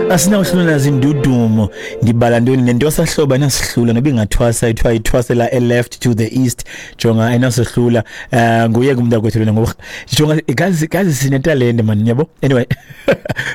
Asinawuhlula zindudumo. Ndibala ntoni nento sahloba nasihlula noba ingathwasa ithiwa ithwasela e left to the east, jonga ayinasohlula. Nguye kumntu lona ngoba jonga gazi gazi sinetalente man, yabo. Anyway,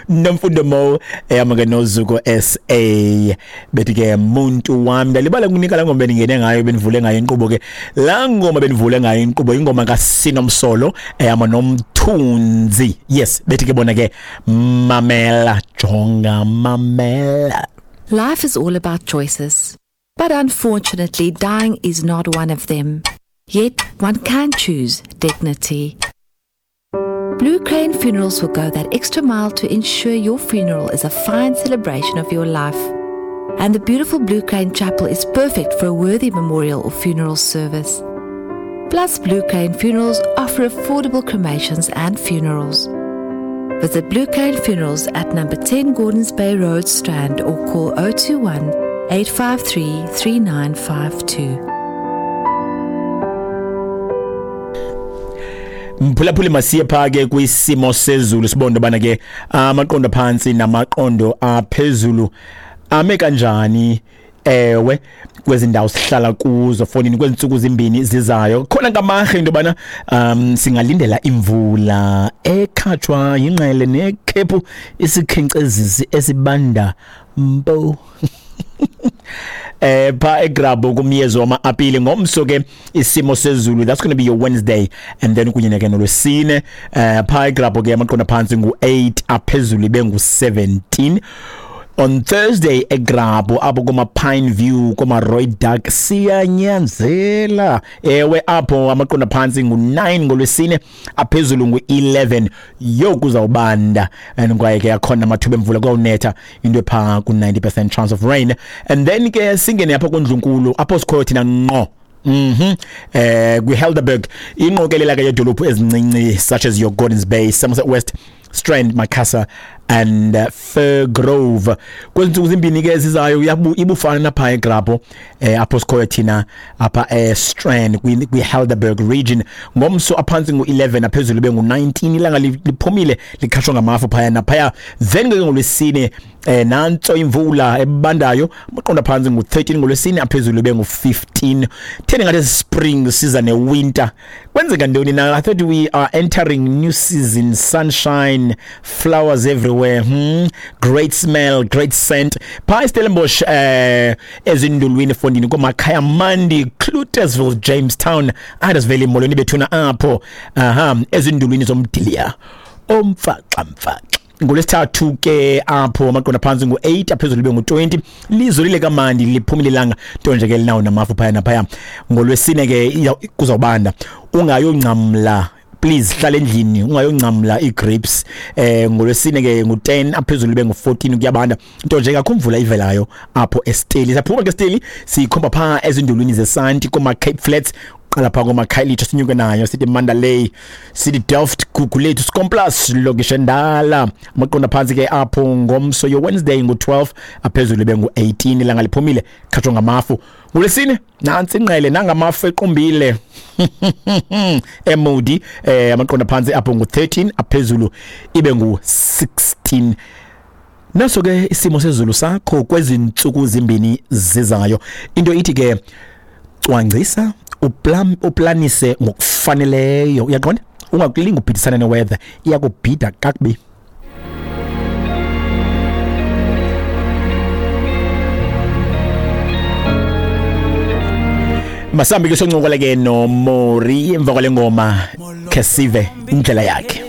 Nomfundo Mo eyama ke noZuko SA bethi ke muntu wami. Ndalibala kunika la ngoma beningene ngayo, benivule ngayo inkqubo ke. La ngoma benivule ngayo inkqubo ingoma kaSinomsolo eyama noMthunzi. Yes, bethi ke bona ke mamela, jonga mamela. Life is all about choices. But unfortunately, dying is not one of them. Yet, one can choose dignity. Blue Crane Funerals will go that extra mile to ensure your funeral is a fine celebration of your life. And the beautiful Blue Crane Chapel is perfect for a worthy memorial or funeral service. Plus, Blue Crane Funerals offer affordable cremations and funerals. Visit Blue Crane Funerals at number 10 Gordons Bay Road, Strand, or call 021 853 3952. Mphulaphuli, masiye pha ke kwisimo sezulu, sibone bana ke amaqondo phantsi namaqondo aphezulu ame kanjani, ewe, kwezi ndawo sihlala kuzo fonini kwezi ntsuku zimbini zizayo. Khona ngamarhe into yobana singalindela imvula ekhatshwa yingqele nekhephu, isikhenkcezisi esibanda mpo. Pha eGrabho kumyezo wama-apile ngomso ke isimo sezulu, that's going to be your Wednesday, and then kunye ke nolwesine. Pha eGrabho ke amaqondo phantsi ngu-8, aphezulu ibe ngu-17. On Thursday eGrabho apho kuma Pine View, kuma Rooidak, siyanyanzela, ewe, apho amaqondo phantsi ngu-9 ngolwesine, aphezulu ngu-11. Yo, kuzawubanda and kwaye ke akhona amathuba emvula, kuyawunetha into epha ku-90% chance of rain. And then ke singene apho kundlunkulu apho sikhoyo thina ngqo. Kwi-Helderberg, ingqokelela ke yedolophu ezincinci such as your Gordons Bay, Somerset West, Strand, Macassar and Firgrove. Kwezi ntsuku zimbini ke zizayo ibufana napha eGrabho, apho sikhoyo thina apha eStrand kwi-Helderberg region. Ngomso aphantsi ngu-11, aphezulu bengu-19, ilanga liphumile, likhatshwa ngamafu phaya naphaya. Then ke ngolwesine nantso imvula ebandayo, amaqondo phantsi ngu-13 ngolwesine, aphezulu bengu-15. Theni ngathi spring siza ne-winter? Kwenzeka ntoni na? I thought we are entering new season, sunshine, flowers everywhere, Great smell, great scent. Pha eStellenbosch, ezindulwini fondini komakhaya mandi, Cloetesville, Jamestown, Adasville, molweni bethuna apho. Aha, ezindulwini zomdiliya omfaxa mfaxa. Ngolwesithathu ke apho amaqondo phantsi ngu-8, aphezulu bengu-20, lizolile kamandi, liphumile ilanga, nto nje ke linawo namafu phaya naphaya. Ngolwesine ke kuzawubanda, ungayongcamla, please hlala endlini, ungayongcamla ii-grapes. Ngolwesine ke ngu-10, aphezulu bengu-14, kuyabanda, nto nje kakho imvula ivelayo apho eSteli. Saphuma ke Steli, sikhomba phaa ezindulwini zesanti koma-Cape Flats, qala phaa komakhayelitsha, sinyuke nayo sithi Mandalay, sithi Delft, Gugulethu, Skomplaas, lokishi endala. Amaqondo phantsi ke apho ngomso, yo Wednesday, ngu-12, aphezulu bengu-18, ilanga liphumile, khatshwa ngamafu. Ngolwesine nantsi ingqele nangamafu equmbile eMoody, amaqondo phantsi apho ngu-13, aphezulu ibe ngu-16. Naso ke isimo sezulu sakho kwezi ntsuku zimbini zizayo. Into ithi ke cwangcisa, uplanise ngokufaneleyo, uyaqonda, ungakulinga ubhidisana neweather, iyakubhida kakubi. Masambi ke soncokola ke noMori emva kwale ngoma, khe sive indlela yakhe.